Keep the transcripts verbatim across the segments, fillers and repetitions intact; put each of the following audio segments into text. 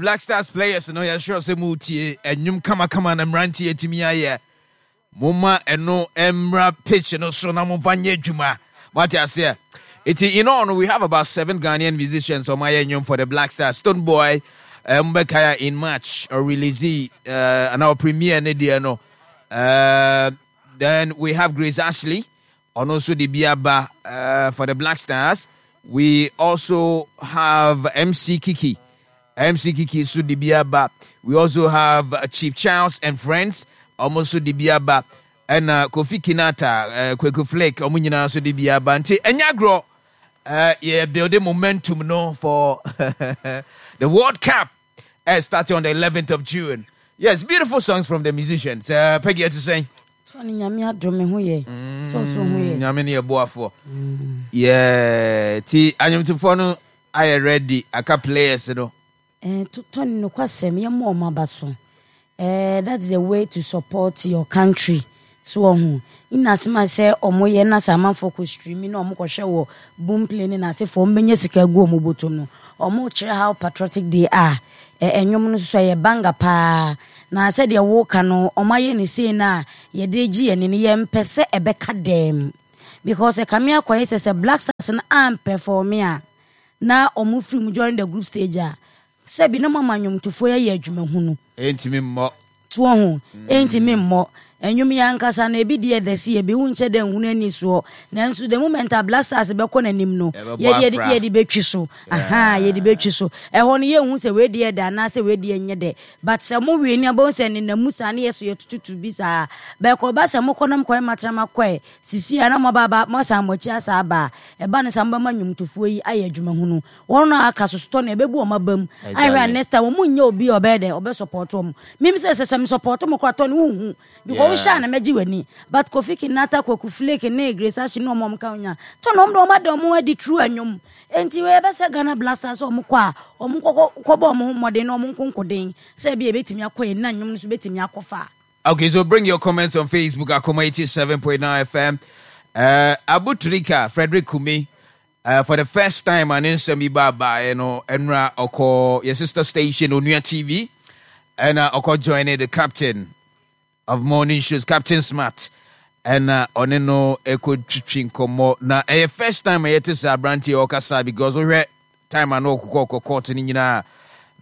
Black Stars players no, yɛsure sɛ motie ɛnwom kamakama na mmeranteɛ atumi ayɛ. Momma ɛno mmra pitch no so na momfa nyɛ adwuma. Wate aseɛ? Nti in all no, we have about seven Ghanaian musicians ɔmo ayɛ nnwom for the Black Stars. Stonebwoy, uh, mbɛkae a in March ɔrelease uh, anaa ɔpremiere ne deɛ no. uh, then we have Grace Ashley, ɔno nso de bi aba uh, for the Black Stars. We also have M C Kiki, M C Kiki nso de bi aba. We also have uh, Chief Charles and Friends, ɔmo nso de bi aba, ɛna Kofi Kinata, uh, Kweku Flake, ɔmo nyinaa nso de bi aba. Nti ɛnyɛ agorɔ, uh, yɛ building momentum no for the World Cup uh, starting on the eleventh of June. Yes, beautiful songs from the musicians. uh, Peggy, ɛte sɛn? Tɔne, Nyame adom, me ho yɛ. Sɛ ɔso ho yɛ? Nyame ne yɛboafoɔ. Yeah, ti anwomtofoɔ no ayɛ ready, aka players no. Eh, Tɔne, nokwasɛm, yɛmmɔ ɔmo aba so. Eh, that's the way to support your country. So ɔho ina asɛm a sɛ ɔmo yɛ na sɛ amanfoɔ kɔ stream na ɔmo kɔhwɛ wɔ Boomplay ne n'asefoɔ, ɔmo bɛnya sika gu ɔmo bɔtɔm no, ɔmo kyerɛ how patriotic they are. Ɛ ɛnwom no nso ɛyɛ banga paa, na sɛdeɛ woka no, ɔmo ayɛ ne sei no a yɛde gye yɛn ni no, yɛmpɛ sɛ ɛbɛka dɛm because ɛkame akɔyɛ sɛ sɛ Black Stars no amperform a na ɔmo firi mu during the group stage a, sɛbi na mama nnwomtofoɔ yɛ adwumahunu. Ɛntumi mmɔ. Toɔ ho ɛntumi mmɔ ɛnwom yɛ ankasa no, ebi deɛ dɛ si ebi ho nkyɛ dɛ nhunu ani soɔ, nanso the moment a Black Stars bɛkɔ n'anim no, Ɛbɛbɔ yɛde yɛde afra. Yɛde bɛtwi so aha, yɛde bɛtwi so. Ɛhɔ no yɛnhu sɛ wei deɛ dɛ anaasɛ wei deɛ nyɛ dɛ, but sɛ mo wie ni abɛhu sɛ nenam mu saa ne yɛ so yɛtututu bi saa bɛkɔ ba sɛ mokɔ nam kɔɛ matena makɔɛ sisi a na mo aba mo asan mo akyi asa aba a, ɛba ne sa mobɛma nnwomtofoɔ yi ayɛ adwumahunu. Wɔn a aka so sotɔ no ɛbɛbu wɔn aba mu ahwɛ a Exactly. next time wɔn nyɛ obi a ɔbɛyɛ dɛ ɔbɛ support wɔn. Mimi sɛ sɛ sɛ mi support mo koraa tɔ ne wohu because Yeah. wohyɛ a na mɛgye w'ani, but Kofi Kinata, Kwaku Flake ne Grace Ashley ne ɔmo a ɔmo ka ho nya tɔ na ɔmo de ɔmo ada ɔmo adi true anwom. Enti wei ɛbɛsɛ Ghana Black Stars sɛ ɔmo kɔ a, ɔmo kɔkɔ kɔbɔ ɔmo ho mmɔden na ɔmo nkonkoden sɛ ebi ebetumi akɔ yɛn na nnwom no so betumi akɔ fa. Okay, so bring your comments on Facebook, Akoma eighty-seven point nine F M. Uh, Abu Trika, Frederick Kumi, uh, for the first time, an nsɛm bi ba you know, ɛnra ɔkɔ your sister station, Onua T V, and uh, ɔkɔ joining the captain of morning shows, Captain Smart, ɛna ɔne no ɛkɔ twitwi nkɔmmɔ. Na ɛyɛ first time a yɛte sɛ aberanteɛ ɔkasa, because wohwɛ time a na ɔkokɔ ɔkɔ court no nyinaa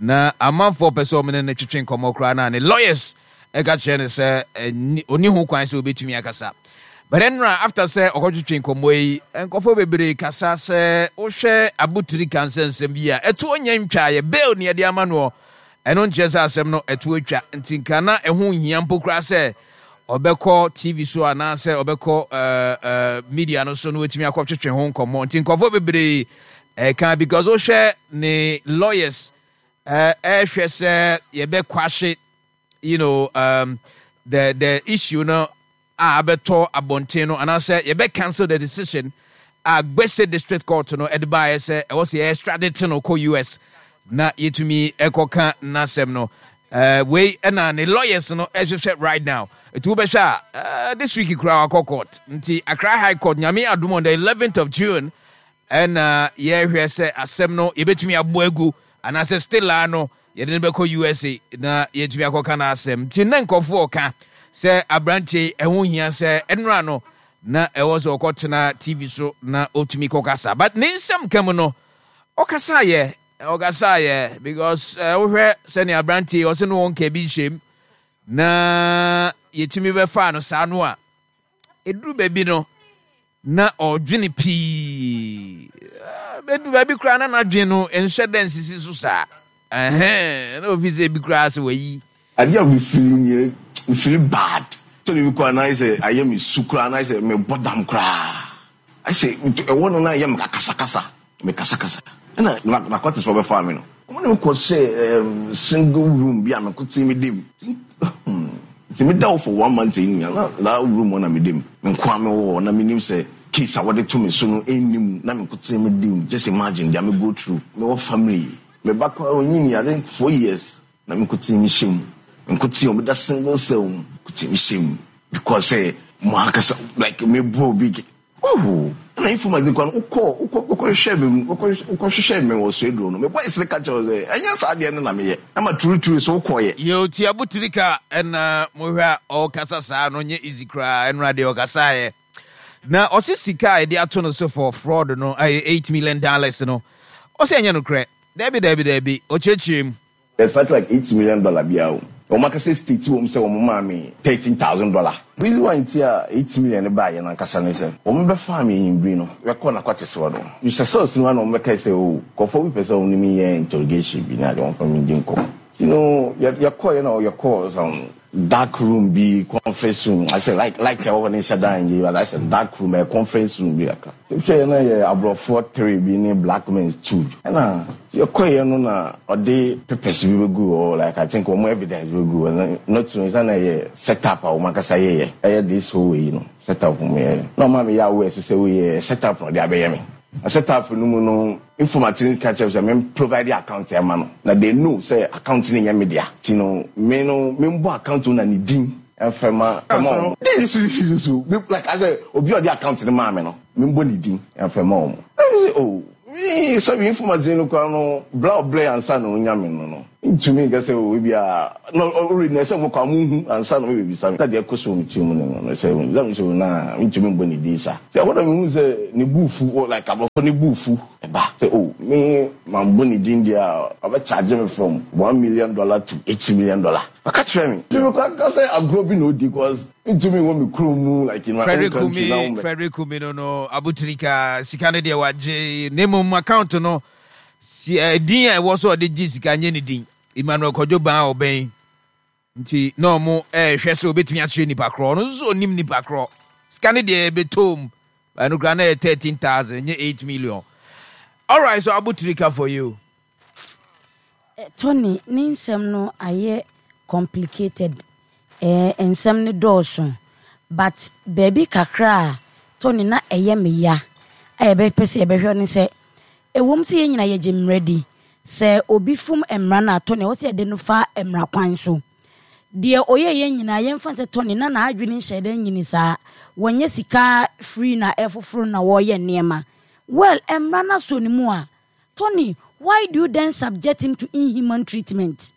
na amanfoɔ pɛ sɛ ɔmo ne no twitwi nkɔmmɔ koraa na ne lawyers ɛka kyerɛ no sɛ ɛni- ɔni ho kwan sɛ obɛtumi akasa. But ɛnora, after sɛ ɔkɔtwitwi nkɔmmɔ yi, nkɔfoɔ bebree kasa sɛ wohwɛ Abotiri ka nsɛnsɛm bi a ɛto ɔnyɛ ntwa yɛ bail ne yɛde ama noɔ, ɛno nkyerɛ sɛ asɛm no ɛto atwa. Nti nka na ɛho nhia mpo koraa sɛ ɔbɛkɔ T V so anaasɛ ɔbɛkɔ uh, uh, media no so na watumi akɔtwetwe ho nkɔmmɔ. Nti nkɔfoɔ bebree ɛka because wohwɛ ne lawyers uh, ɛhwɛ sɛ yɛbɛkwahye you know um, the the issue no a abɛtɔ abɔnten no anaasɛ yɛbɛ cancel the decision a Gbese District Court no ɛde baayɛ sɛ ɛwɔ sɛ yɛ extradite no kɔ U S na yɛtumi ɛkɔka n'asɛm no. uh, wei ɛna ne lawyers no ɛhwehwɛ right now. Ɛti wobɛhwɛ a, uh, this week koraa wakɔ court. Nti Accra High Court, Nyame adom, on the eleventh of June ɛna yɛhwɛ sɛ asɛm no yɛbɛtumi abɔ agu anaasɛ still a no yɛde no bɛkɔ U S A na yɛtumi akɔka no asɛm. Nti na nkɔfoɔ ka sɛ aberanteɛ ɛho hia sɛ ɛnora no na ɛwɔ sɛ ɔkɔtena T V so na ɔtumi kɔkasa, but ne nsɛm ka mu no, ɔkasaeɛ ɔkasaeɛ because uh, wohwɛ sɛnea aberanteɛ ɔsɛ no wɔnka bi nhyɛm na yɛtumi bɛfaa no saa no a, ɛduru baabi no na ɔdwene pii. Bɛdu baabi koraa na n'adwene no nhyɛ dɛ nsisi so saa. Ɛhɛn, na ofi sɛ ebi koraa sɛ wayi. Adeɛ a mefiri nyɛ, mefiri bad sɛ biribi koraa na ayɛ sɛ ayɛ me su koraa na ayɛ sɛ mebɔ dam koraa, ayɛ sɛ ɛwɔ no na ayɛ me kasakasa, me kasakasa. Ɛna narcotics fɔ bɛfaa me no, wɔn ne me kɔ sɛ single room bi a meko te me dem nti meda wo for one month yi nyina na that room hɔ na me dem, me nko a mewɔ hɔ na menim sɛ case a wɔde to me so no ɛnnim na meko te me dem. Just imagine deɛ me go through. Mewɔ family, me ba koraa onyini, I think four years na me nko te me hyɛ mu, me nko te ɔmo da single cell mu ko te me hyɛ mu because sɛ mo ankasa like me bro bi oh. Ɛna informant no kɔ no, wokɔ wokɔ wokɔhwehwɛ me wokɔ wokɔhwehwɛ me wɔ Swedru no, me boys no ka kyerɛ wo sɛ ɛnyɛ saa adeɛ no na meyɛ. Ɛma turuturu so wokɔeɛ. Yo, ti Abu Trica ɛna mohwɛ a ɔkasa saa no nyɛ easy koraa. Ɛnora deɛ ɔkasaeɛ na ɔse sika a yɛde ato no so for fraud no ɛyɛ eight million dollars no, ɔsɛ ɛnyɛ nokorɛ. Daabi, daabi, daabi, ɔkyerɛkyerɛ mu. There's something like eight million dollar biara o. Wɔn akasa state wɔm sɛ wɔn maa me thirteen thousand dollar. Reason why nti a eight million no baayɛ no ankasa ne sɛ wɔn bɛfaa me enyimbre no yɛkɔɔ n'akwatesewa no. Hyɛ cells no mu a na wɔn bɛkae sɛ o nkurɔfoɔ bi pɛ sɛ wɔn ne me yɛ interrogation bi na adeɛ wɔn fa me di nkɔmmɔ. Nti no yɛ yɛkɔɔyɛ na yɛkɔɔ some dark room bi, conference room, I said like light ɛwɔ hɔ ne nhyɛ dan yie, but I said dark room, ɛyɛ conference room bi kakra. Hwɛ na yɛ aborɔfoɔ three bi ne black men two. Ɛna yɛkɔeɛ no na ɔde papers bi bɛgu hɔ, like I think wɔn evidence bɛgu hɔ na not so nsa na ɛyɛ set up a wɔn ankasa yɛyɛ, ɛyɛ this whole way no set up wɔn yɛyɛ. Na ɔma me yɛ aware so sɛ woyɛ set up na ɔde abɛyɛ me. Na set up no mu no, informant no ka kyerɛ sɛ me provide account ɛma no. Na they know sɛ account no nyɛ me dea. Nti no me no me mbɔ account no na ne din ɛmfɛ ma ɛma wɔn. This is so like I said, obi a ɔde account no maa me no, me mbɔ ne din ɛmfɛ ma wɔn. Ɛna sɛ oh me sɛbi informant no kora no bla ɔblɛ ansa na onya me no no. Ntumi nka sɛ o ebi a no already na ɛsɛ mo kɔ a mo hu ansa na mo bɛbisa me. Na deɛ ɛkɔ so wɔ me tiri mu no no sɛ sɛ sɛ na ntumi mbɔ ne din saa. Sɛ ɛhɔ na mehu sɛ ne bu fu, like aborɔfo ne bu fu ɛba sɛ o me ma mbɔ ne din deɛ a ɔbɛ charge me from one million dollar to eight million dollar. Ɔka kyerɛ me. Nti mekɔ aka sɛ agorɔ bi na odi cause ntumi wɔ me kurom mu like in my own Frederick country na Kumi wo Frederick Kumi no no Abu Trica sika no deɛ wagye, ne mmom account no si eh, din a ɛwɔ so a ɔde gye sika nyɛ ne din, Emmanuel Kwadwo Ban a ɔbɛn nti na ɔmo ɛrehwɛ sɛ obetumi akyerɛ nipa korɔ. Ɔno nso so onim nipa korɔ. Sika no deɛ ɛbɛtɔm ɛno koraa na ɛyɛ thirteen thousand, nye eight million. Alright, so Abu Trica for you. Eh, Tony ne nsɛm no ayɛ complicated, eh, nsɛm no dɔɔso, but baabi kakra a Tony na ɛyɛ me ya a yɛbɛpɛ sɛ yɛbɛhwɛ ne sɛ ɛwom sɛ yɛn nyinaa yɛgye mmara di sɛ obi fom mmara no a, Tony, ɛwɔ sɛ yɛde no fa mmara kwan so. Deɛ ɔyɛ yɛn nyinaa yɛmfa sɛ Tony na n'adwene nhyɛ dɛ nyini saa, wɔnyɛ sika free na ɛfoforo na wɔreyɛ nneɛma. Well, mmara no asɔ ne mu a, Tony, why do you then subject him to inhuman treatment?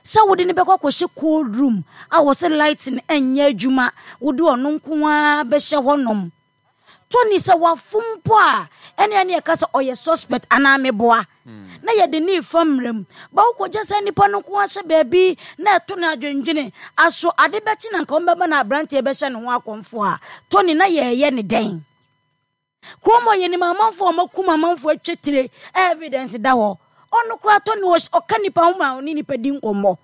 Sɛ wode ne bɛkɔ akɔhyɛ cold room a wɔsɛ light no ɛnyɛ adwuma, wode ɔno nko ara bɛhyɛ hɔnom. Tony, sɛ wafom mpo a, ɛne ɛne ɛka sɛ ɔyɛ suspect anaa meboa na yɛde ne fa mmerɛ mu ba, wokɔgya sɛ nnipa no nko ahyɛ baabi na ɛto no adwendwene aso ade bɛkye na nka wɔmbɛba na aberanteɛ bɛhyɛ ne ho akɔmfo a, Tony, na yɛɛyɛ ne dɛn? Kurom hɔ yɛnim amanfoɔ a ɔmakum amanfoɔ atwa tire, evidence da hɔ. Ɔno koraa Tony ɔka nipa ho ma ɔne nipa di nkɔmmɔ.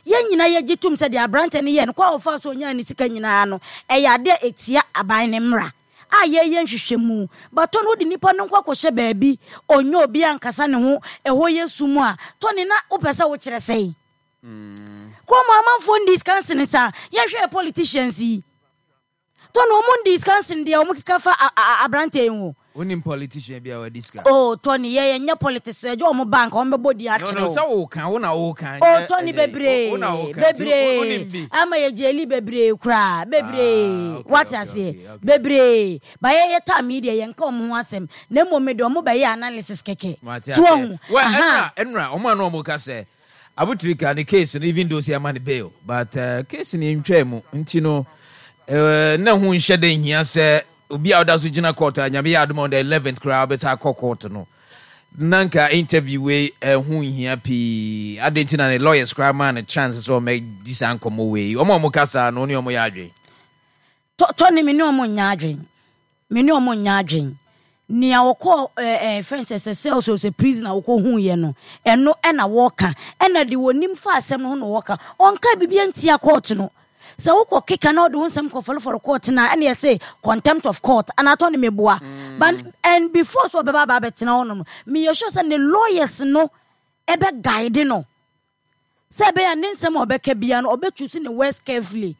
Yɛn nyinaa yɛgye tom sɛ deɛ aberante no yɛ no kɔ a ɔfa so ɔnyaa ne sika nyinaa no ɛyɛ ade a ɛtia aban ne mmara a yɛyɛ nhwehwɛmu. But Tony, wode nipa no nkɔ akɔhyɛ baabi ɔnyɛ obi ankasa ne ho, ɛhɔ yɛ sum a, Tony, na wopɛ sɛ wokyerɛ sɛn? Kurom amanfoɔ ndi sika nsene saa. Yɛhwɛ politicians yi, Tony, ɔmo ndi sika nsene deɛ ɔmo keka fa aberante yi ho. Wonim politician bi a wadi sika? Oh Tony, yɛ yɛnyɛ politics, ɛgye ɔmo bank ɔmo bɛbɔ di akyerɛ. No no, sɛ woka wo na woka. Oh Tony, bebree bebree ama yɛ gyeli bebree koraa, bebree, wate aseɛ, bebree ba yɛ yɛ time yi deɛ yɛnka ɔmo ho asɛm na mmom mede ɔmo bɛyɛ analysis kɛkɛ so ɔho. Ɛnra ɛnra ɔmo ano ɔmo ka sɛ Abu Trica ne case no, even though sɛ ɛma ne bail, but uh, case no ntwaa mu nti no uh, na ho nhyɛ dɛ nhia sɛ obi a ɔda so gyina court a Nyame yɛ adom on the eleventh koraa wobɛsa akɔ court no na nka interview wei ɛho nhia pii. Ade nti na ne lawyers koraa maa no chance sɛ ɔmɛdi saa nkɔmmɔ wei. Ɔmo a ɔmo ka saa no, ne ɔmo yɛ adwen? Tɔ ne me ne ɔmo nyɛ adwen, me ne ɔmo nyɛ adwen. Nea wɔkɔ ɛɛ ɛɛ fɛn sɛ sɛ cells o sɛ prison a wɔkɔ hu yɛ no, ɛno ɛna wɔka, ɛna de wɔnim fa asɛm no ho na wɔka. Ɔnka biribi ntia court no. Sɛ wokɔ keka na ɔde wo nsɛm kɔ fɔlɔfɔlɔ court na ɛna yɛsɛ contempt of court anaa tɔ ne meboa. But and before so ɔbɛba aba abɛtena hɔ nom, meyɛ sure sɛ ne lawyers no ɛbɛ guide no sɛ ɛbɛyɛ ne nsɛm a ɔbɛka bia no ɔbɛchoose ne words carefully.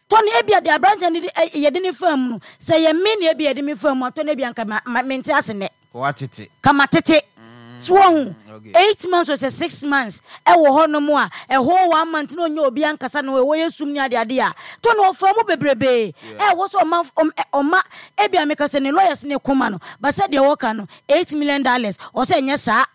Tɔne ebia de aberanteɛ no de yɛde ne fa mu no, sɛ yɛ me na ebia yɛde me fa mu a, tɔne ebia nka ma mente ase nɛ. Watete. Kama tete. So wɔn okay. eight months or sɛ six months ɛwɔ hɔ nom a, ɛhɔ one month na ɔnyɛ obi ankasa na ɛwɔ yɛ sum ne adeade a, Tony ɔfra mu bebrebe. Ɛwɔ sɛ ɔma ɔma ebi a meka sɛ ne lawyers ne koma no, but sɛ deɛ wɔka no eight million dollars ɔsɛ ɛnyɛ saa.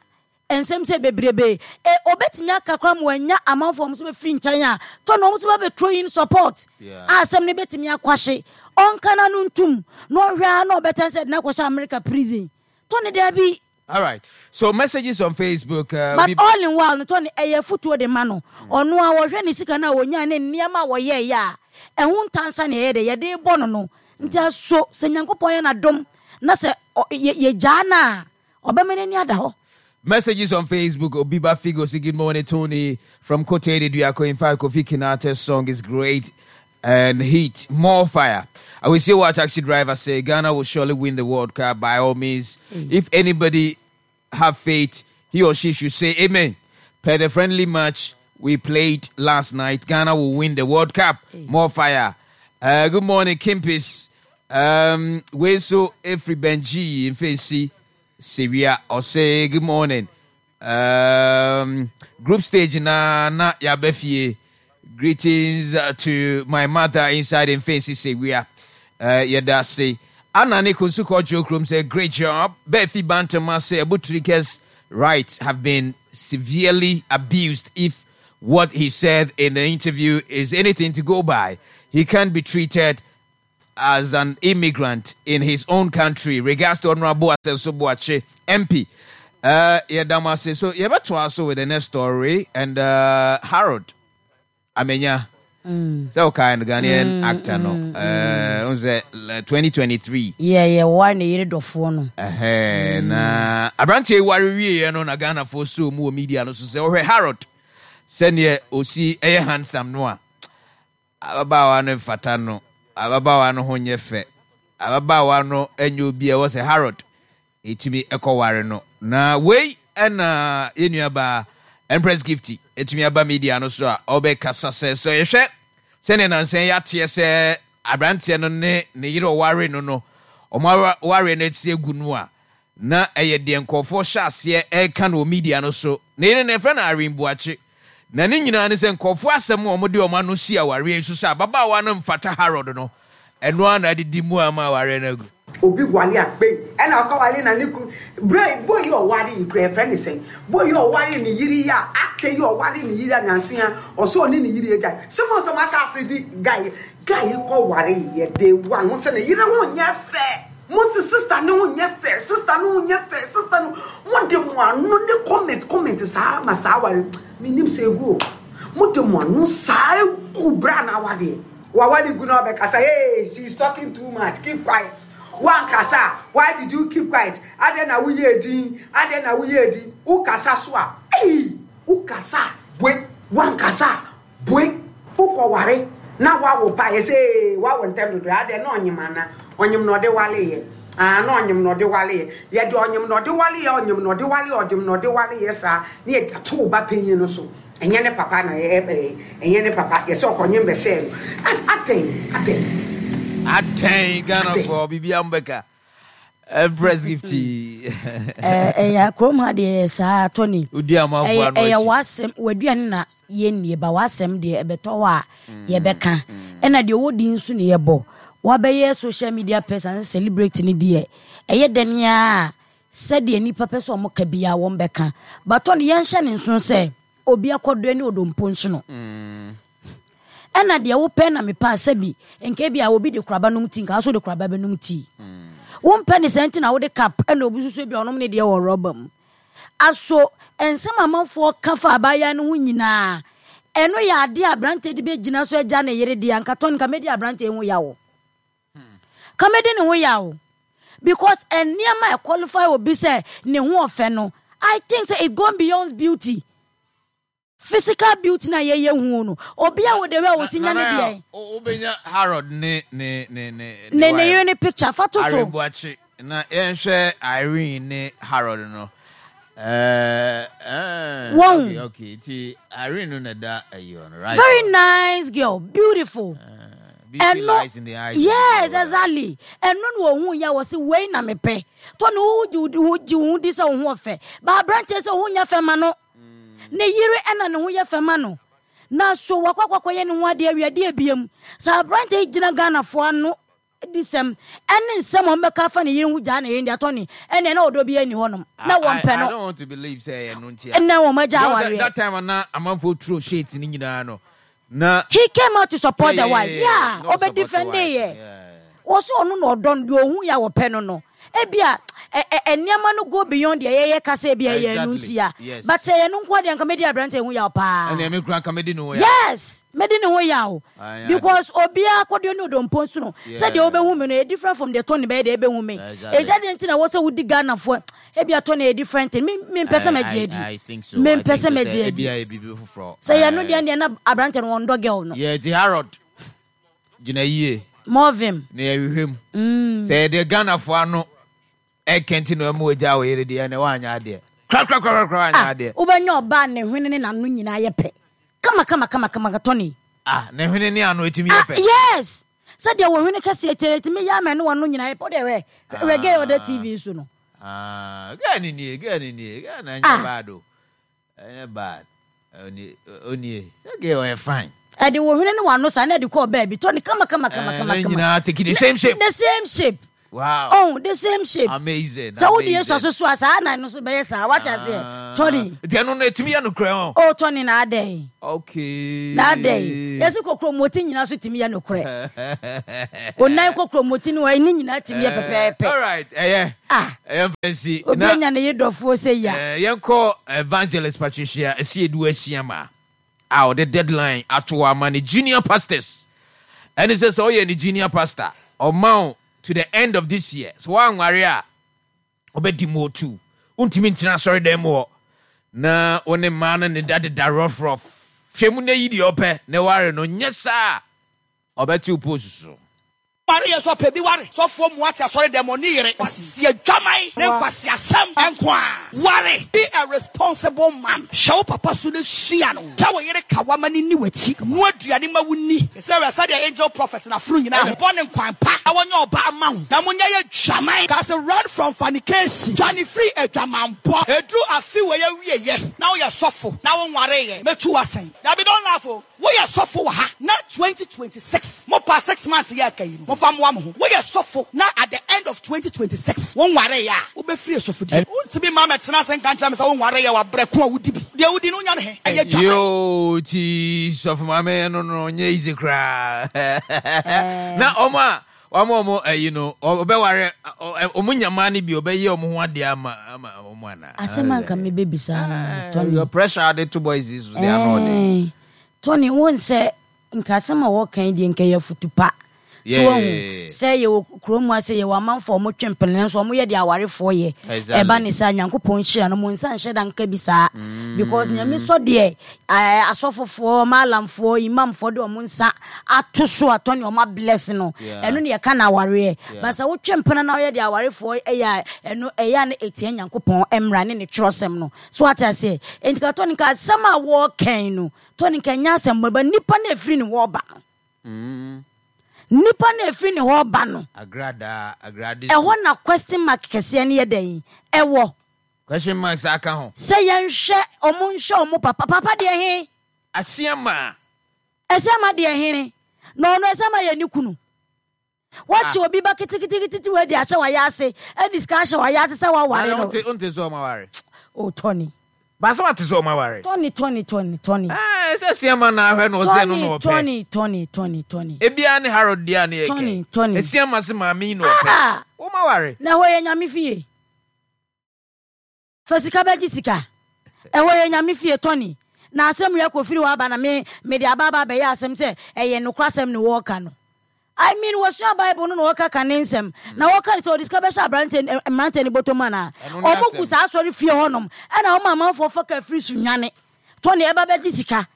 Nsɛm sɛ bebrebe e obetumi aka koraa ma wanya amanfoɔ ɔmo nso bɛfiri nkyɛn a, Tony ɔmo nso bɛbɛ in support Yeah. a asɛm no bɛtumi akwahye. Ɔnka n'ano ntum na ɔhwɛ a na ɔbɛtɛn sɛ de n'akɔhyɛ America prison. Tony daabi. All right. So messages on Facebook. Uh, But we- all in while no, Tony ɛyɛ fotuo de ma no. Ɔno a wɔhwɛ ne sika no a wɔnya ne nneɛma a wɔyɛɛyɛ a ɛho ntansa ne ɛyɛ de yɛde bɔ no no nti aso sɛ Nyankopɔn yɛ n'adom na sɛ ɔ- yɛ- yɛgyaa no a, ɔbɛma n'ani ada hɔ. Messages on Facebook. Obiba Figo say good morning, Tony from Kote Duako. In fact, Kofi Kinata's song is great and heat, more fire. I will see what taxi driver say. Ghana will surely win the World Cup by all means. If anybody have faith, he or she should say amen. Per the friendly match we played last night, Ghana will win the World Cup. More fire. Uh, good morning, Kimpis. Um, we so every Benji in Fancy Syria or say good morning. Um, group stage na na yabefie. Greetings uh, to my mother inside in Fancy Syria. Uh, yɛda se Anna ne Kunsuko Jokrum say great job. Befi Bantama say Abu Trica's rights have been severely abused if what he said in the interview is anything to go by. He can't be treated as an immigrant in his own country. Regards to Honorable Asenso Boakye, M P. Uh, yɛda mo ase. So yɛbɛtoa so with the next story and uh, Harold Amenya. Sɛ wokae no, Ghanaian actor no. Uh, wo sɛ uh, twenty twenty-three. Yɛ yɛ wɔware ne yere dɔfoɔ no. Ɛhɛ, na aberanteɛ yi ware wieɛ no na Ghanafoɔ so mu wɔ media no so sɛ wɔhwɛ Harold sɛneɛ ɔsi ɛyɛ handsome no a, ababaawa no mfata no, ababaawa no ho nyɛ fɛ, ababaawa no nyɛ obi a ɛwɔ sɛ Harold ɛtumi ɛkɔware no. Na wei ɛna yɛn nuabaa Empress Gifty ɛtumi aba media no so a ɔbɛkasa sɛ sɛ yɛhwɛ sɛnea nansɛn yɛateɛ sɛ aberanteɛ no ne ne yere ɔware no no ɔmo ware no ati egu no a, na ɛyɛ deɛ nkɔɔfoɔ hyɛ aseɛ ɛreka no wɔ media no so. Ne yere no yɛfrɛ no Irene Buakye, na ne nyinaa ne sɛ nkɔɔfoɔ asɛm a ɔmode ɔmo ano si awareɛ yi so sɛ ababaawa no mfata Harold no, ɛno ara na adidi mu ama awareɛ no agu. Obi wale akpe ɛna ɔkɔ wale na ne kun bere boy yi ɔware yi kura ɛfrɛ ne sɛn, boy yi ɔware ne yiri yi a ate yi ɔware ne yiri a nansia ɔsɛ ɔne ne yiri agya sɛ mo nsɛm ahyɛ ase di guy guy yi kɔ ware yɛ day one mo sɛ ne yiri ho nyɛ fɛ, mo sɛ sister ne ho nyɛ fɛ, sister ne ho nyɛ fɛ, sister no mo de mo ano ne comment comment saa ma saa ware mi nim sɛ egu o, mo de mo ano saa egu bra na awadeɛ waware gu na ɔbɛkasa, "Hey, she is talking too much, keep quiet." Wankasa, why did you keep quiet? Adɛn na woyɛ edin? Adɛn na woyɛ edin? Wokasa so a, ei, wokasa boe, wankasa boe, wokɔware na wawo ba yɛ sɛ ee wawo ntɛm dodo. Adɛn na ɔnyim ana ɔnyim na ɔde wale yɛ aa na ɔnyim na ɔde wale yɛ, yɛde ɔnyim na ɔde wale yɛ, ɔnyim na ɔde wale yɛ, ɔnyim na ɔde wale yɛ saa ne yɛde ato wo ba panyin no so. Ɛnyɛ ne papa na ɛyɛ ɛɛ ɛnyɛ ne papa yɛ sɛ ɔkɔnyim bɛhyɛ no. Adɛn, adɛn? Atɛn Ghanafoɔ biribia mbɛka Empress Gifty. Ɛyɛ kurom ha deɛ, yɛ saa, Tony. Wodi amanfoɔ ɛyɛ ano ɛyɛ akyi. W'asɛm w'aduane na yɛnnie ba w'asɛm deɛ ɛbɛtɔ hɔ a yɛbɛka, ɛna deɛ ɔwɔ din nso ne yɛbɔ wabɛyɛ social media person sɛ celebrate ne deɛ ɛyɛ dɛn a sɛdeɛ nipa pɛ sɛ ɔmo ka biara wɔn bɛka batɔ no. Yɛnhyɛ ne nso sɛ obi akɔdɔ ne odompo nso no, ɛna deɛ wopɛ na mepɛ a sɛbi nka bi a obi de koraba nom tea, nka so de koraba bɛnom tea. Wompɛ ne sɛ nti na wode cup, ɛna obi nso so bi a ɔnom ne deɛ wɔ rɔba mu. Aso nsɛm amanfoɔ ka fa abaayewa no ho nyinaa, ɛno yɛ adeɛ a aberanteɛ de bɛgyina so agya ne yere deɛ anka tɔn nka mɛdi aberanteɛ ho yawo, ka mɛdi ne ho yawo, because nneɛma a qualify obi sɛ ne ho ɔfɛ no, I think sɛ it go beyond beauty, physical beauty na yɛyɛ hu no. Obi a wɔ de wɛ a wosi nya ne deɛ. Wobɛnya Harold ne ne ne ne ne ne yere ne picture fa to so. Irene Buakye na yɛnhwɛ Irene ne Harold no. ɛɛ ɛɛ Wɔn. okay okay nti Irene no na ɛda ayi hɔ no, right? Very nice girl, beautiful. Uh, Ɛno, yes, exactly. Ɛno na ohun yɛ wɔ se wei na mepɛ. Tony, wo gye wo gye wo ho di sɛ wo ho ɔfɛ. Ba aberanteɛ sɛ wo ho nyɛ fɛ ma no. Ne yere ɛna ne ho yɛ fɛ ma no. Na so wakɔ akɔkɔyɛ ne ho adeɛ awie adeɛ ebiem. Sɛ aberanteɛ yi gyina Ghanafoɔ ano di sɛm ɛne nsɛm a ɔmbɛka afa ne yere ho gyaa ne yere deɛ, Tony, ɛne na ɔdɔ bi ani hɔnom na I, wɔmpɛ I no. don't want to believe sɛ ɛno nti a. Ɛnna wɔn agya Because awareɛ. that time na amanfoɔ throw shades ne nyinaa no na He came out to support yeah, the yeah, wife. yeah, Yeah, yeah. No ɔbɛ support the defend wife. yɛ. Yeah. Wɔsɛ ɔno na ɔdɔ no deɛ ohun yɛ a wɔpɛ no no. Ebia ɛ ɛ nneɛma no go beyond deɛ yɛyɛ kasa ebi ɛyɛ ɛnu Exactly. ntia. Yes. But sɛ ɛyɛ no nko adeɛ, nka medi aberante ho yaw paa. Ɛnna ɛmi kura nka medi ne ho yaw. Yes, medi ne ho yaw. Aye, Because obiara kɔdeɛ ne odompo nso no. Yeah. Sɛdeɛ wobɛhu me no yɛ different from deɛ Tony bɛyɛ deɛ ɛbɛhu me. Exactly. Ɛgya deɛ nti na wɔ sɛ wodi Ghanafoɔ ebia Tony yɛ different thing. Me me mpɛ sɛ mɛgye adi. I think so. Me I mpɛ think sɛ so sɛ mɛgye adi. ebi ayɛ biribi foforɔ. Sɛ yɛ no deɛ deɛ na aberante no wɔndɔ girl no. Yɛ ti Harold gyina yie Movim. Na yɛhwehwɛ mu. Mm. Sɛ yɛde Ghanafoɔ ano ɛkɛnti na ɛmu ogya wɔ yere deɛ, ɛnɛ woanyɛ adeɛ korakorakorakora, woanyɛ Ah, adeɛ. Wobɛnya ɔbaa ne hwene ne n'ano nyinaa yɛ pɛ. Kama kama kama kama, Tony. Ah, ne hwene ne ano ɛtumi yɛ Ah, pɛ? yes. Sɛdeɛ wɔ hwene kɛseɛ tiɛ tumi yɛ ama ne wɔn no nyinaa yɛ pɛ. Wode hwɛ hwɛ gay ɔda T V so no. Ah, girl ni nie, girl ni nie, girl na ɛnyɛ Ah. bad o, ɛnyɛ bad. Onie, onie, girl ɔyɛ fine. Ɛde wɔ hwene ne wɔn ano saa na ɛde kɔɔ baabi, Tony, kama kama kama Eh, kama ne kama. nyinaa take the same shape. The same shape. Wow. Oh, the same shape. Amazing. Sɛ wode Yesu Amazing. aso so a, saa na no so bɛyɛ saa, wate aseɛ, Tony? Nti ɛno no ɛtumi yɛ nokorɛ ho? Oh, Tony, na adɛn? Okay. Na adɛn? Yɛsi kokromoti nyinaa so tumi yɛ nokorɛ. Onan kokromoti no ɛne nyinaa tumi yɛ pɛpɛɛpɛ. Alright, ɛyɛ Ah. ɛyɛ mfa nsi. Obi Na anya ne yere dɔfoɔ sɛ ya. eh, yɛnkɔ Evangelist Patricia Asiedu Asiama a ɔde deadline ato hɔ ama ne junior pastors. Ɛne sɛ sɛ ɔyɛ ne junior pastor, ɔma wo to the end of this year, sɛ woanware a, ɔbɛdi mu otu, wontumi ntena asɔredan mu hɔ na wo ne mmaa no ne da deda rough rough. Hwɛ mu na yi deɛ ɔpɛ na ware no, nyɛ saa a, ɔbɛte wo post so. Ware yɛ sɛ ɔpɛ bi ware sɔfoɔ mu ate asɔre dɛm ɔne yere kwasi adwaman ne nkwasi asɛm ɛnko a ware. Be a responsible man. Hyɛ wo papa so ne sua no kyɛ wo yere ka wama ne ni w'akyi noa aduane ma wo ni sɛ wɛ sɛdeɛ angel prophet na foro nyinaa bɔ ne nkwan pa na wɔnyɛ ɔbaa ma wo na monyɛ yɛ dwaman ka sɛ run from fornication, dwane firi adwamanbɔ. Ɛduru afe wɔ yɛ wieyɛ na woyɛ sɔfo na wonwareyɛ, mɛtu w'asɛn. Dabi, don't laugh o. Woyɛ sɔfo wɔ ha na twenty twenty-six mo pa six months yɛ aka yi no, momfa mmoa mo ho. Woyɛ sɔfo na at the end of twenty twenty-six wonwareyɛ a, wobɛfiri asɔfodie. Wontumi ma mɛtena ase nka nkyerɛ me sɛ wonwareyɛ wabrɛ ko a wodi bi deɛ wodi no wonya ne he ɛyɛ dwaman. Yo, ti sɔfo maame no no nyɛ easy koraa na ɔmo a ɔmo ɔmo ɛyi no ɔbɛware ɔmo nyamaa no bi ɔbɛyɛ ɔmo ho adeɛ ama ama ɔmo ana? Asɛm anka mebɛbisa no, Tony. Your pressure ade to boys is they are not there. Eh, Tony, wo sɛ nka asɛm a wɔka yi deɛ, nka yɛ afutu pa Yeah, so yeah, wahu yeah, yeah. sɛ yɛwɔ kurom ha sɛ yɛwɔ amanfoɔ a ɔmotwe mpene nso ɔmoyɛ deɛ awarefoɔ yɛ. Exactly. Ɛba ne saa, Nyankopɔn nhyira no mo nsa nhyɛ da nka bi saa Mm. because Nyame sɔ deɛ eh, asɔfofoɔ, maalamfoɔ, imamfoɔ de ɔmo nsa ato so atɔ ne ɔmo abless no. Yeah. Ɛno ne yɛka no awareɛ. Yeah. But sɛ wotwe mpena na woyɛ deɛ awarefoɔ ɛyɛ a, ɛno ɛyɛ a na ɛtia Nyankopɔn mmra ne ne twerɛsɛm no so, ate aseɛ? Enti ka Tony, nka asɛm a wɔɔkɛn no, Tony, nka nyɛ asɛm bɔ ba nipa na ɛfiri ne hɔ ba no. Mm. Nipa na ɛfiri ne hɔ ba no. Agrada agrade. Ɛhɔ na question mark kɛseɛ no yɛ dɛn ɛwɔ. Question mark saa ka ho. Sɛ yɛnhwɛ ɔmo, nhwɛ ɔmo papa papa deɛ he. Asiama. Ɛsɛma deɛ hene na ɔno ɛsɛma yɛ ne kunu wɔkye obi ba keteketekete wɔ adi ahyɛ wayɛ ase ɛde sika ahyɛ wayɛ ase sɛ waware no. Wonte wonte sɛ ɔmo aware? O Tony. Baasa wate sɛ ɔmo aware? Tony, Tony, Tony, Tony. Ɛɛ, sɛ Asiama na ahwɛ na ɔsɛ no na Tony. ɔpɛ. Tony, Tony, Tony, Tony. Ebia ne Harold deɛ a ne yɛ Tony, kɛ Tony. Asiama se maame yi na ɔpɛ. Ah! Wɔn aware. Na ɛhɔ yɛ Nyame fie, fa sika bɛgye sika. Ɛhɔ yɛ Nyame fie, Tony, na asɛm yɛ kɔfiri hɔ aba na me mede aba aba abɛyɛ asɛm sɛ ɛyɛ nokora asɛm ne wɔɔka no. I mean, wɔsua Bible no na wɔka ka ne nsɛm na wɔka ne sɛ ɔde sika bɛhyɛ aberante mmerante ne bɔtɔ mu anaa? Ɛno ne Ɔmo asɛm. gu saa asɔre fie hɔnom ɛna ɔmo amanfoɔ fa ka firi so nwane, Tony, ɛba bɛgye sika.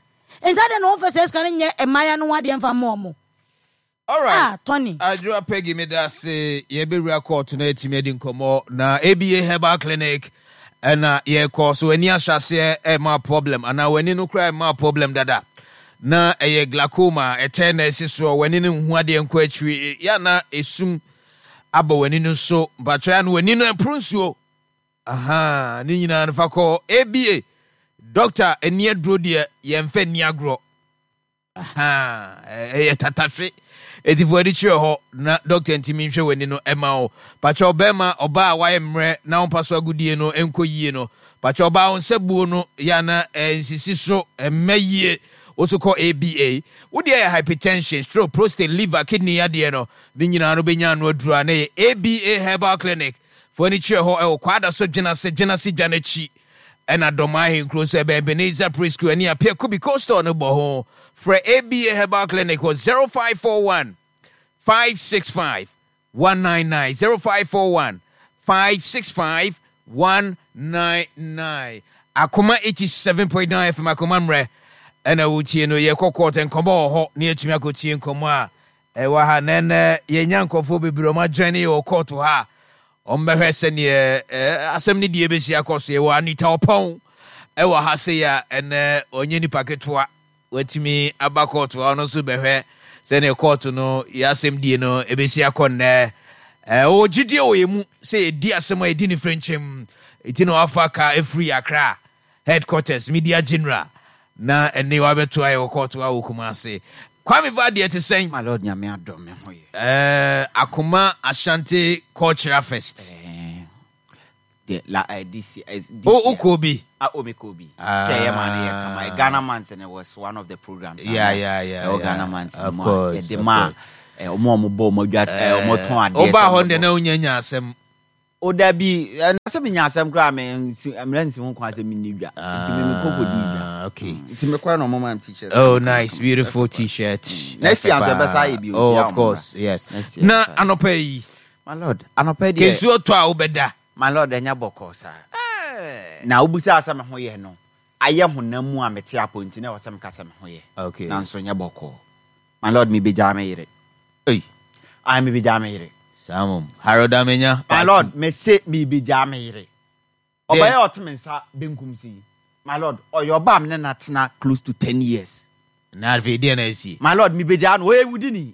Nti adɛn na wɔmfa sɛ sika no nyɛ mmaaya no ho adeɛ mfa mma ɔmo? Alright. Ah, Tony. Adwoa Peggy, meda ase. Yɛbɛwura court no atumi adi nkɔmmɔ na A B A Herbal Clinic ɛna yɛkɔ so. Ani ahyɛ aseɛ ɛma problem anaa w'ani no koraa ɛma problem dada Na ɛyɛ glaucoma ɛtɛ na ɛsi soɔ, w'ani no nhu adeɛ nkɔ akyiri, yɛ na esum aba w'ani no so. Mpatwɛ ya no w'ani no ɛporo nsuo. Aha, ne nyinaa no fa kɔ A B A. Doctor, ani aduro deɛ yɛmfa nni agorɔ. Aha, ɛyɛ tatahwe. Etifoɔ ani kyerɛ hɔ na doctor ntumi nhwɛ w'ani no ɛma wo. Patwɛ ɔbɛrima, ɔbaa a wayɛ mmerɛ na wɔmpa so agodie no nkɔ yie no. Patwɛ ɔbaa, wo nsa buo no yɛ ana nsisi so ɛmmɛ yie. Woso kɔ A B A. Wodeɛ yɛ hypertension, stroke, prostate, liver, kidney adeɛ no. Ne nyinaa no bɛnya ano aduro a na yɛ A B A Herbal Clinic. Foɔ ani kyerɛ hɔ ɛwɔ Kwada so Dwenase, Dwenase dwa n'akyi. Ɛna Dɔm Ahenkuro sɛ ɛbɛn Ebenezer Preschool ɛne Apia Kubi Coastal no bɔ ho. Frɛ A B A Herbal Clinic wɔ zero five four one five six five one nine nine, zero five four one five six five one nine nine. Akoma eighty-seven point nine F M, Akoma mmerɛ ɛna wotie no. Yɛkɔ court, nkɔmmɔ wɔ hɔ na yɛtumi akɔtie nkɔmmɔ a ɛwɔ ha. Na ɛnɛ yɛnya nkɔfoɔ bebree ɔma adwane wɔ court ha a ɔmbɛhwɛ sɛneɛ asɛm no deɛ bɛsi akɔ so. Yɛwɔ Anita Ɔpɔn ɛwɔ ha sei a ɛnɛ ɔnyɛ nipa ketewa, watumi aba court ha. Ɔno nso bɛhwɛ sɛneɛ court no yɛ asɛm die no ɛbɛsi akɔ nnɛ. Ɔwɔ gyidie wɔ yɛ mu sɛ yɛdi asɛm a yɛdi ne frɛnkyɛm, ɛti na wafa ka ɛfiri Accra headquarters, media general, na ɛne wabɛto ayɛ wɔ court ha wɔ Kumase. Kwame va deɛ te sɛn? My lord, Nyame adɔ me ho yɛ. uh, akoma Ashanti Cultural Fest. Eh, de la uh, this year, uh, this o year. Wokɔ bi? Ah, o me kɔ bi. Ah. Sɛ ɛyɛ maa no yɛ kama. Ghana Month no was one of the programs. Yeah, yeah, yeah, Ɛwɔ yeah. Ghana Month Of mu a course, yɛde of maa course. eh, ɔmo a ɔmo bɔ ɔmo adwa, eh, ɔmo tɔn adeɛ. Wobaa sɛ hɔ ɔmo deɛ bɔ. na wonya nya asɛm. O dabi, ɛna sɛ menya asɛm koraa, me nsi mmerɛ nsi ho kwan sɛ menni dwa. Nti me mekɔ kɔdi dwa. Ah, okay. Nti mekɔɛ na ɔmo ma me T-shirt. Oh, nice, beautiful T-shirt. Next year nso ɛbɛsa ayɛ bio, Oh, nti of course, yes. Next year Na ɛbɛsa ayɛ. anɔpa yi, My lord, anɔpa deɛ, kesuo tɔ a wobɛda. My lord, ɛnyɛ bɔkɔɔ saa. Na wobusa sɛ me ho yɛ no, ayɛ honam mu a mete apɔ nti na ɛwɔ sɛ meka sɛ me ho yɛ. Okay. Nanso nyɛ bɔkɔɔ. My lord, mebɛgyaa me yere. Ei, Ai, mebɛgyaa me yere. Saa mom. Harold Amenya. My lord, mese mebɛgyaa me yere. Ɔbɛyɛ a ɔte me nsa benkum so yi, my lord, ɔyɛ ɔbaa me ne no atena close to ten years. Na afei deɛ na asi? My lord, mebɛgyaa no, ɔyɛ wudini.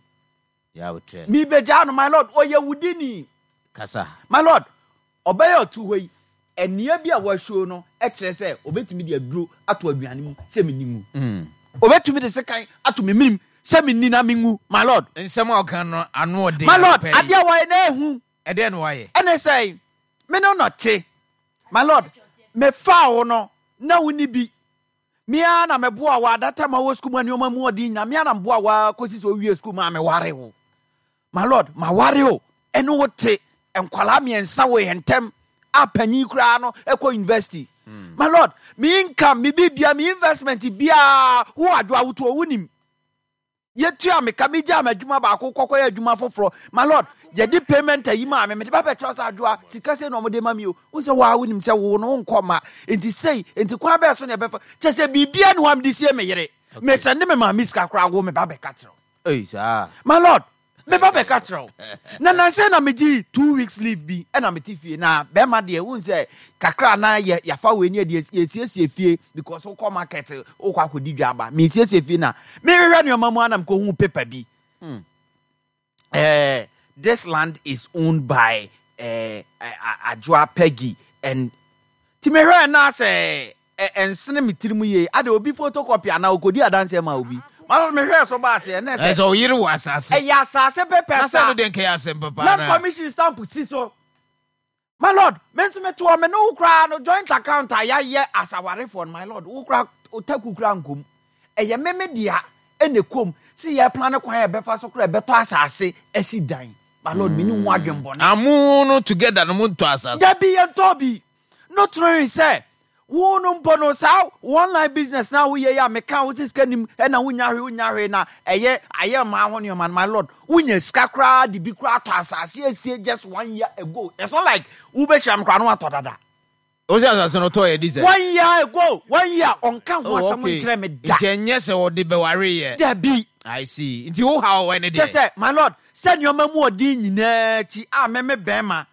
Ya wotrɛ. Mebɛgyaa no, my lord, ɔyɛ wudini. Kasa. My lord, ɔbɛyɛ ɔto hɔ yi, ɛnea bi a wɔahyɛ no kyerɛ sɛ obetumi de aduro ato aduane mu sɛ menni ngu. Mm. Obetumi de sekan ato me mirim sɛ menni na mengu, my lord. Nsɛm a ɔka no ano ɔden. My lord, anɔpa yi. Adeɛ a wɔyɛ na ehu. Ɛdeɛ na wayɛ? Ɛne sɛ me ne no te, my lord, mefaa wo no na wo ni bi. Mea na meboa wo adata ma wɔ sukuu mu a nneɛma mu ɔden nyina. Mea na meboa wo a kɔsi sɛ owie sukuu ma meware wo. My lord, maware o, ɛne wo te, nkwalaa mmiɛnsa wɔ yɛn ntɛm a panyin koraa no ɛkɔ university. My lord, me income, me bibia, me investment biaa, wo adwo awotoɔ wonim. Yɛtua meka, megyaa me adwuma baako kɔkɔyɛ adwuma foforɔ. My lord, yɛde payment ayi maa me, mede bɛbɛkyerɛ sɛ adwoa sika sei na ɔmode ma me o. Wo sɛ woa wonim sɛ wo no wonkɔ ma nti sei nti kwan bɛɛ so ne ɛbɛfa kyɛ sɛ biribia ne hɔ a mede sie me yere. Mesɛnde me maame sika koraa, wo meba bɛka kyerɛ wo. Ei, saa. My lord, meba bɛka kyerɛ wo na nansɛ na megye two weeks leave bi ɛna mete fie na bɛrima deɛ wohu sɛ kakra na yɛ yɛafa wei ne yɛde yɛsiesie fie because wokɔ market, wokɔ akɔdi dwa aba. Mesiesie fie na mehwehwɛ nneɛma mu anam kɔhu paper bi. eh, this land is owned by eh, Adwoa Peggy and ti mehwɛ na sɛ ɛnsene me tirim yie ade obi photocopy anaa okodi adanseɛ ma obi ma mehwɛ so ba aseɛ na sɛ sɛ ɔyere wɔ asase. Ɛyɛ asase pɛpɛ. Na sɛ no deɛ nkɛyɛ asɛm papa. Land commission stamp si so. My lord, me nso mete hɔ, me ne wo koraa no joint account a yɛayɛ asawarefoɔ no, my lord, wo koraa otaku koraa nkom, ɛyɛ me me dea ɛna kom si yɛ plan kwan a yɛbɛfa so koraa ɛbɛtɔ asase asi dan. My lord, me ne ho adwembɔne. Amu no together no mo ntɔ asase? Dabi, yɛntɔ bi no toro sɛ wo no mpo no saa online business na woyɛ yi a meka wo sɛ sika nim ɛna wonya hwee, wonya hwee na ɛyɛ ayɛ mmaa ho nneɛma no. My lord, wonya sika koraa de bi koraa atɔ asase asie just one year ago. It's not like wobɛhyia me koraa no watɔ dada. O sɛ asase no tɔ yɛ di sɛ One year ago, one year, ɔnka ho Oh, asɛm okay. nkyerɛ me da. Nti ɛnyɛ sɛ wɔde bɛware yɛ? Dabi. I see. Nti wo ha wɔ ɛne kyɛ deɛ sɛ, my lord, sɛ nneɛma mu ɔden nyinaa akyi a meme bɛrima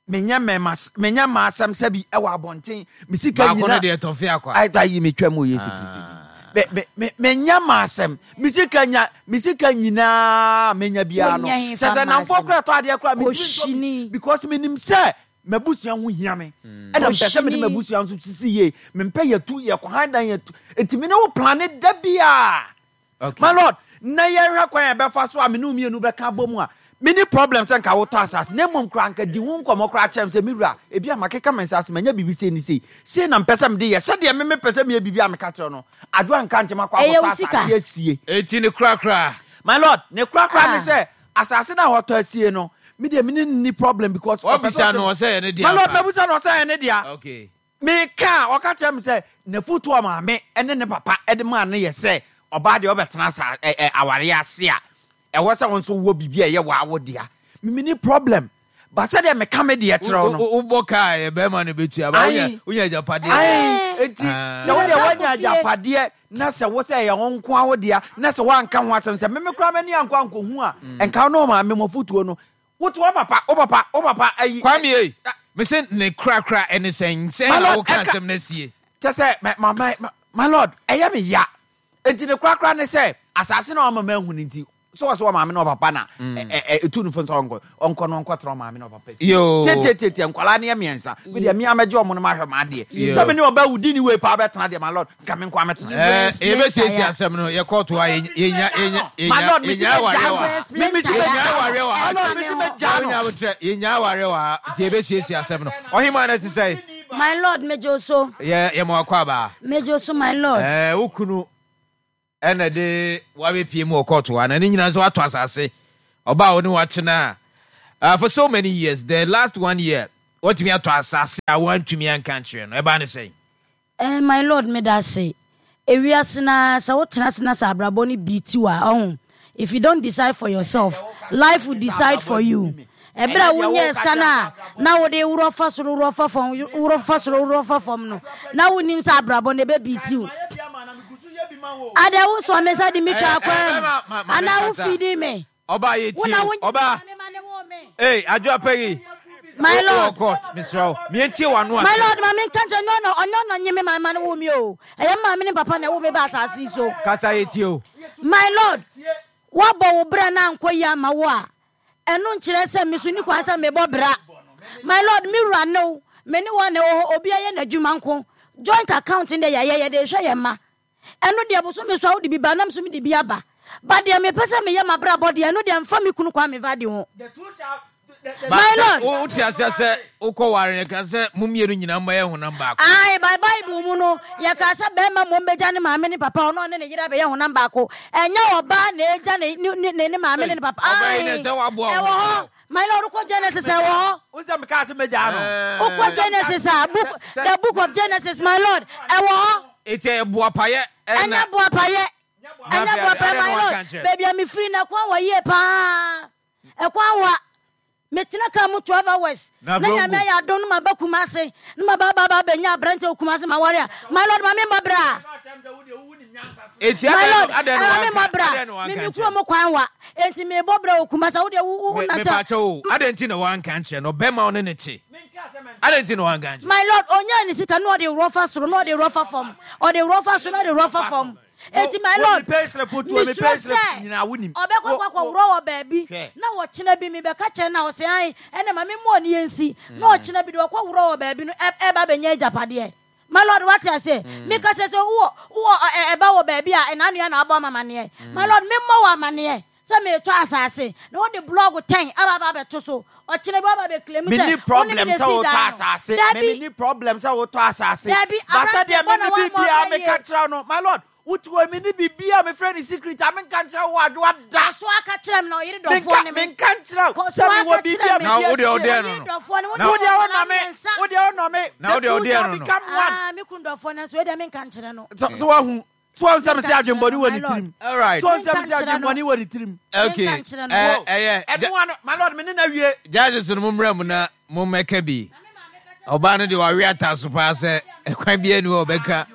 menyɛ mɛma menyɛ mma asɛm sɛ bi ɛwɔ abɔnten me sika baako no nyinaa deɛ tɔfe akwa. Ayɛ yi metwa mu wɔ Yesu Kristo Ah. din. me me me menya ma asɛm. Me sika nya me sika nyinaa menya biara no. Wonya he Kyɛ fa sɛ ma namfoɔ asɛm. koraa tɔ adeɛ koraa mentumi ntɔ Kɔhyini. bi because menim sɛ m'abusua ho hia me. Ɛna mpɛ sɛ mede Kɔhyini. m'abusua nso sisi yie. Mempɛ yɛtu yɛkɔhan dan yɛtu. Enti me ne wo plane da biara. Okay. My lord, na yɛhwɛ kwan a yɛbɛfa so a me ne wo mmienu bɛka abɔ mu a, menni problem sɛ nka wotɔ asase na mmom koraa nka di ho nkɔmmɔ koraa kyerɛ me sɛ me wura, ebi a makeka me nsa ase manya biribi sei ne sei, sei na mpɛ sɛ mede yɛ, sɛdeɛ me mepɛ sɛ meyɛ biribi a meka kyerɛ no, Adwo anka nkyɛ makɔ Ɛyɛ akɔtɔ wo sika. asase asie. Enti ne korakora. My lord, ne korakora ne Ah. sɛ asase no a wɔtɔ asie no, me deɛ me ne no nni problem because ɔpɛ sɛ Wabisa ɔhyɛ no ɔsɛ yɛ ne dea My lord, ampa. mabisa no ɔsɛ yɛ ne dea. Okay. Meka a, ɔka kyerɛ me sɛ n'afotu a maame ne ne papa de maa no yɛ sɛ ɔbaa deɛ ɔbɛtena asa ɛ ɛ awareɛ ase a, ɛwɔ sɛ wo nso wowɔ biribi a ɛyɛ w'awo dea. Me menni problem. But sɛdeɛ meka me deɛ kyerɛ wo no. Wo wobɔ kaa a, ɛyɛ bɛrima na ɛbɛtua, but wonya Ae. wonya agyapadeɛ deɛ. Ae. Enti Ah. sɛ wo deɛ Mebɛba woanya akɔ fie. agyapadeɛ na sɛ wo sɛ ɛyɛ wo nko ara wo dea na sɛ woanka ho asɛm sɛ me me koraa m'ani ankɔ ankɔhu a, nka wo ne wo maame mo afotuo no, wote wo papa, wo papa, wo papa ayi. Kwame ei, mese ne korakora ɛne sɛn? Sɛn My na lord, woka ɛka asɛm no asie? kyɛ sɛ my, my, my, my lord, ɛyɛ me ya. Enti ne korakora ne sɛ asase na wama mahu no nti, sɛ wɔ sɛ wɔ maame ne ɔpapa na ɛtu no fo sɛ ɔnkɔ ɔnkɔ no ɔnkɔtena ɔmaame ne ɔpapa fie. Yoo. Tietietie nkwadaa no yɛ mmiɛnsa. Me deɛ mea mɛgye ɔmo no mahwɛ m'adeɛ. Yoo. Sɛ me ne ɔbaa wudi ne wei paa bɛtena deɛ my lord, nka me nko ara mɛtena. You go Eh, explain yɛbɛsiesie tire. asɛm no yɛkɔɔto a yɛnya yɛnya yɛnya My lord, mesi yɛnya bɛgya awareɛ no. wɔ ha. Me mesi Yɛnya bɛgya awareɛ wɔ ha. My lord, mesi bɛgya no. Wonya abotrɛ, yɛnya awareɛ wɔ ha nti yɛbɛsiesie asɛm no. Ɔhemaa no te sɛn? My lord, megye wo so. Yɛ yɛma wakɔ abaa. Megye wo so, my lord. Eh, wo kunu ɛna de wabɛpie mu wɔ kɔɔto ha na ne nyinaa nso watɔ asase ɔbaa wo ne watena uh, for so many years the last one year watumi atɔ asase a wantumi anka nkyerɛ no ɛbaa ne sɛn? Eh, my lord, meda ase. Ewiase na sɛ wotena ase na sɛ abrabɔ no bi ti wa ɔho. If you don't decide for yourself, life will decide for you. Ɛberɛ a wonyɛɛ sika no a na wode worɔ fa soro worɔ fa fam worɔ fa soro worɔ fa fam no na wonim sɛ abrabɔ no ɛbɛbi ti wo. Adɛ wo sɔ me nsa de me twa Eh, eh, akwan bɛma, ma, ma anaa wo menkasa. fidi me. Ɔbaa yɛ Wo tie na o. wo Ɔbaa, me ma ne wo me. ei, adwo apɛyi. My lord. Wɔ court, mesrɛ wo. Mientie w'ano My asɛm. lord, ma menka nkyerɛ nyɛ ɔno ɔnyɛ ɔno nye me ma ma ne wo me o. Ɛyɛ me maame ne papa na ɛwo me ba asase yi so. Kasa yɛ tie o. My lord, woabɔ wo bra na ankɔ yie ama wo a, ɛno nkyerɛ sɛ me so ni kwan sɛ mebɔ bra. My lord, me wura ne wo, me ne wɔn na ɛwɔ hɔ, obiara yɛ n'adwuma nko. Joint account deɛ yɛayɛ, yɛde rehwɛ yɛn mma. Ɛno deɛ bosome so a wode bi ba, nam so mede bi aba. But deɛ mepɛ sɛ meyɛ m'abrabɔ deɛ, ɛno deɛ mfa me kunu Kwame Vardy ho. Ba My sɛ lord. wo wote aseɛ sɛ wokɔ ware no ka sɛ mo mmienu nyinaa mmɛyɛ honam baako. Ae, by Bible mu no, yɛkaa sɛ bɛrima mmom bɛgya ne maame ne papa, ɔno ɔne ne yere abɛyɛ honam baako. Ɛnyɛ ɔbaa na ɛgya ne, ne, ne, ne maame ne ne papa. Ɔbaa yi Ae, na sɛ waboa wo ɛwɔ ho. hɔ. My lord, wokɔ Genesis a, ɛwɔ hɔ. Wo sɛ mekaa sɛ mɛgyaa no. Wokɔ Genesis a, book, the book of Genesis, my lord, ɛwɔ hɔ. Eti ɛyɛ boapayɛ ɛna. Ɛnyɛ boapayɛ. Ɛnyɛ boapayɛ, my lord. Baabi a mefiri no, ɛkwan wɔ yie paa. Ɛkwan wa. Metena kaa mu twelve hours. Na Na Brongo. Nyame ayɛ adom no maba Kumase. Na maba aba aba abɛnya aberante wɔ Kumase ma ware a. My lord, ma memmɔ bra. Eti My adɛn lord, no adɛn no ɛma wanka memmɔ bra. adɛn no wanka Me me nkyerɛ kurom kwan wa. Enti mebɔ bra wɔ Kumase. Wo deɛ wo wo Me nante. mepaakyɛ o adɛn nti na wanka nkyerɛ no ɔbɛrima wo ne ne te adɛn nti na wanka nkyerɛ. My lord, onyaa ne sika na ɔde worɔ fa soro na ɔde worɔ fa fam. Ɔde worɔ fa soro na ɔde worɔ fa fam. Enti my lord, mesuro sɛ ɔbɛkɔ akɔ akɔworɔ wɔ baabi na ɔkyena bi mebɛka kyerɛ no a ɔsɛ ae ɛna ma memmɔɔ ne yɛnsi na ɔkyena bi de ɔkɔ worɔ wɔ baabi no ɛba bɛnya agyapadeɛ. My lord, wate aseɛ? Meka sɛ sɛ wowɔ wowɔ ɛba wɔ baabi a ɛna anoa na abɔ ama amaneɛ. My lord, memmɔ wɔ amaneɛ sɛ meretɔ asase na wode blɔg ten aba aba abɛto so. Ɔkyena bi waba abɛclaim sɛ Menni wo ne me problem na sɛ esii wotɔ dan no. asase. Me Dabi. menni problem sɛ wotɔ asase. Dabi, But aberanteɛ sɛdeɛ bɔ me na me woammɔ biribiara ɔbra meka yie. kyerɛ wo no, my lord, wote hɔ yi menni biribiara a mefrɛ no secret a menka nkyerɛ wo adwoa da. Kɔ so aka kyerɛ me na ɔyere dɔfoɔ Menka ne me. menka nkyerɛ wo Kɔ so sɛ mewɔ aka biribi kyerɛ a me. Na mede wo deɛ asie. ɔdeɛ no Ɔyere no. dɔfoɔ ne wo Na ne Wo deɛ wɔ wonɔ nkwadaa me, mmiɛnsa. wo deɛ wonɔ me. Na wo The deɛ two ɔdeɛ shall no no. become one. Ah, me kunu dɔfoɔ nanso wei deɛ menka nkyerɛ no. So so wahu. So wahu sɛ Menka mese nkyerɛ adwemmɔne no, wɔ my ne lord. tirim. All right. So wahu sɛ Menka mese nkyerɛ no. adwemmɔne wɔ ne tirim. Okay. Menka nkyerɛ no. Eh, ɛyɛ. Ɛno ano, my lord, me ne na wie. Judges no mommra mu na mommɛka bi. Ɔbaa no deɛ wawe ata so paa sɛ ɛkwan biara ni hɔ a ɔbɛka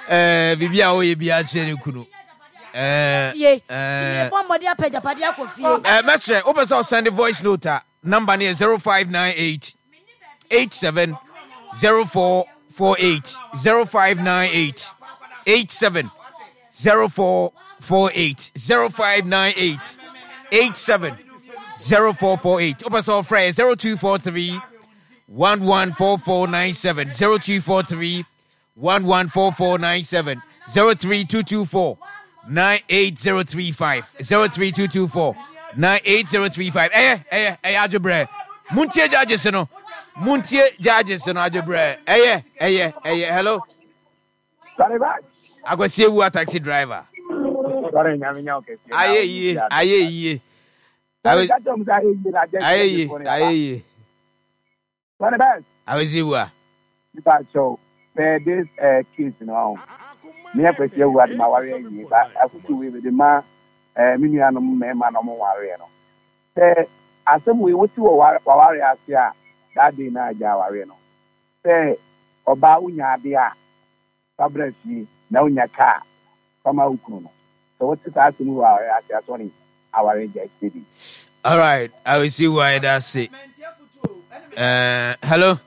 eh, biribi a ɔyɛ bi akyerɛ ne kunu. Eh, Fie. eh, Mebɔ mmɔden apɛ agyapadeɛ akɔ fie. eh, mɛsrɛ wopɛ sɛ ɔsend voice note a number no yɛ zero five nine eight eight seven zero four four eight zero five nine eight eight seven zero four four eight zero five nine eight eight seven zero four four eight. Wopɛ sɛ ɔfrɛ zero two four three one one four four nine seven zero two four three one one four four nine seven zero three two two four nine eight zero three five zero three two two four nine eight zero three five. Ɛyɛ ɛyɛ ɛyɛ adwobrɛ. Muntie judges no. Muntie judges no adwobrɛ. Ɛyɛ ɛyɛ ɛyɛ. Hello. Akwasi Ewu a taxi driver. Ayɛ yie ayɛ yie. Ayɛ yie ayɛ yie. Akwasi Ewu a. Per this uh, case no, me Akwasi Ewu ade ma ware yie ba afutu wei de ma eh me nuanom mmarima na ɔmo ware no. Sɛ asɛm wei wote wɔ waware ase a that day na agya aware no. Sɛ ɔbaa wonya ade a fabra fie na wonya kaa fama wo kunu no. Sɛ wote saa asɛm wɔ aware ase asɔre aware gya steady. All right, I will see why that's it. Uh, hello.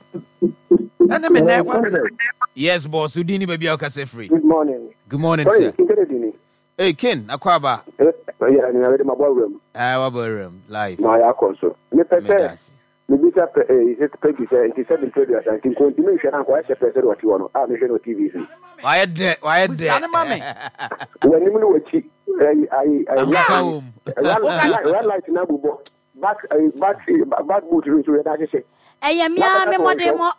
Yes, boss. Udini baby I'll free. Good morning. Good morning, Sorry, sir. Hey, Ken, Akwaba. Yeah, I'm ready my room. Ah, my room live. My console. Me pese. Me bisa is it Peggy say nti seven traders and think continue share na kwa share pese what you want. Ah, me share no T V. Why there? Why there? When you no chi ai ai red light na bubo. Back back back boot so we da hye. Eh, me me modemo.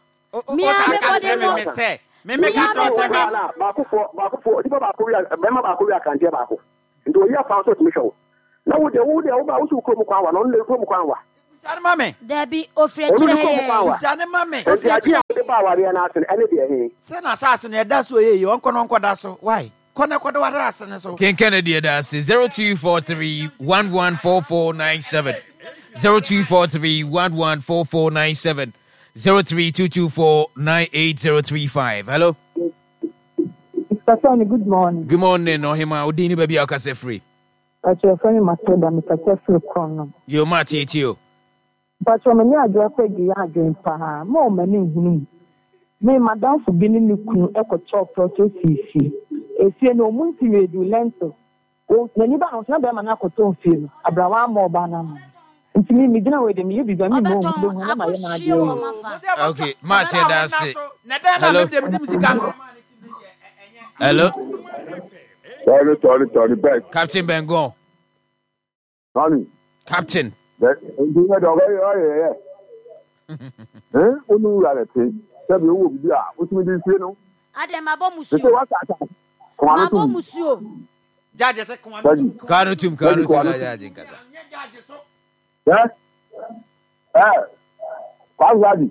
Me me modemo. Me me ka tro se na baako fo baako fo di ba baako wi be ma baako wi akante baako. Nti oyi afa so tumi hwe. Na wo de wo de wo ba wo so krom kwan wa no le krom kwan wa. Usane mame. Debi ofre chire he. Usane mame. Ofre chire de ba ware na asen ene de he. Se na asase na da so ye onko no nko da so. Why? Kone kodo ware asene so. Ken Kennedy da se zero two four three one one four four nine seven. zero two four three one one four four nine seven. zero three two two four nine eight zero three five. Hello. Mister Tony, good morning. Good morning, Ohima. Udini baby Akase free. Pacho friend Matilda, Mister Free Krono. Yo Mati tio. Pacho me adwo kwegi adwen pa. Mo mani hunu. Me madam fu bi ni kunu ekocho proto sisi. Efie no mu nti redu lento. O nani ba no na be ma na akoto mfie no. Abrawa ma oba na ma. Nti mi mi gina we de mi ye biba mi mo hu na ma ye na ade. Okay, Mati that's it. Hello. Hello. Sorry, sorry, sorry, back. Captain Bengon. Sorry. Captain. Eh, Ade mabo musuo. Mabo musuo. Jaje se kwanu tum. Kwanu tum, kwanu tum jaje nkasa. Eh? Eh. Kwanu jaje.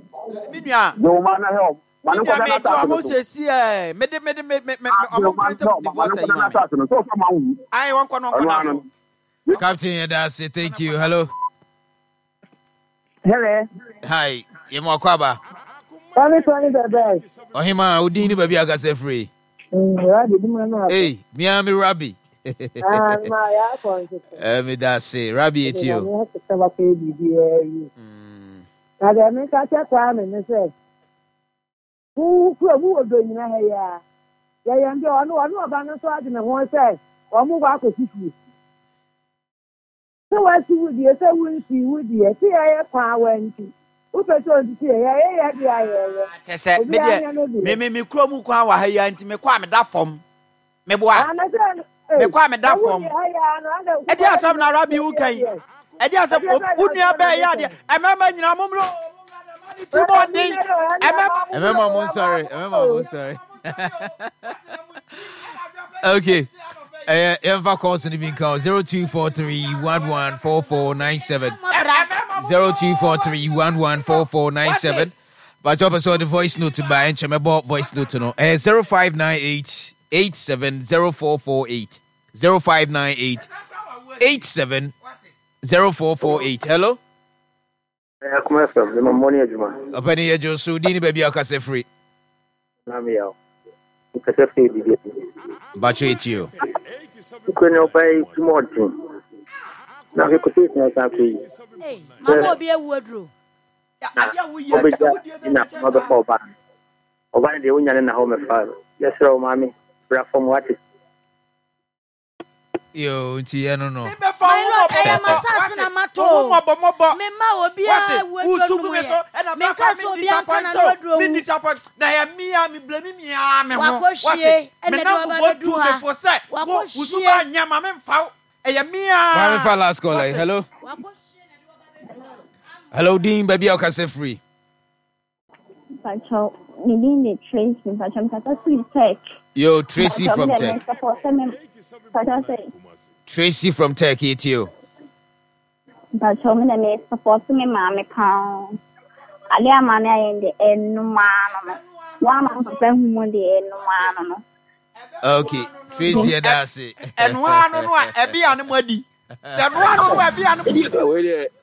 Minua. Yo ma na help. Manu kwa na ta mo se si eh me de me de me me omo print divorce yi ma. Ai won kwa no kwa na. Captain Yadasi, thank you. Hello. Hello. Hi. Ye mo kwaba. Tony Tony the best. Ohima udini baby akase free. Mm, Rabbi di mo na. Hey, me am Rabbi. Ah, ma ya ko. Eh me da se Rabbi etio. Mm. Na de me ka che kwa me ne se. Who who wo do nyina he ya. Ye ye ndi onu onu oba no so ade ne ho se o mu gwa akosisi. So what you would you say wouldn't see would you see I power and who person to see yeah yeah yeah yeah. Me me me me kro mu kwa wa ha ya nti me kwa me da fom. Me boa. Me kwa me da fom. E di asam na Rabbi wu kan. E di asam unua be ya de. E mema nyina mo mro. Ti mo din. E mema E mema mo sorry. E mema mo sorry. Okay. Eh, uh, calls in the bin call zero two four three one one four four nine seven. zero two four three one one four four nine seven. But drop us all the voice note by and chemebo voice note no. Eh, zero five nine eight eight seven zero four four eight. zero five nine eight eight seven zero four four eight. Hello? Eh, come from the morning adwuma. Opani ejo so dini baby akase free. Na me yaw. Akase free bibi. Bacho etio. Kwe obai tumodin. Na ke kosi na sa kwe. Eh, mama obi ewu aduro. Obeja ina mother for ba. Oba de wonya ne na ho me fa. Yes, o mami. Bra form what? Yo, nti ɛno no. Mebɛfa My wo lord, mmɔbɔ ɛyɛ mmɔbɔ. m'asase na Wate? mato Wo o. mmɔbɔ mmɔbɔ. Memma obiara Wate? wu aduro Wosu nom gu me yɛ. so, ɛna Menka bɛfa sɛ me obiara ntɔ disappoint n'ano o. aduro Me nwu. disappoint. Na ɛyɛ me a me blame me ara me ho. Wakɔhwie, Wate? ɛna Me de waba namfofoɔ abɛduru tu me ha. fo sɛ, wo, wo Wakɔhwie. suban nyɛ ma memfa wo. Ɛyɛ me ara. Maame fa last call. Wate? Hello. Hello, Dean. Baabi a wokasa firi. Mpacho, me din de Tracy. Mpacho, mkasa firi Tech. Yo, Tracy Mpacho, from me de Tech. me support sɛ me mpacho sɛ Tracy from Tech, yɛtie o. Mpacho, me de me support me maame paa. Ade a maame ayɛ de ɛnum ano no. Wɔn ama papa hu mu de ɛnum ano no. Okay, Tracy ɛda ase. Ɛnoa no no a ɛbi a no mo adi. Sɛ ɛnoa no no a ɛbi a no mo Wei deɛ.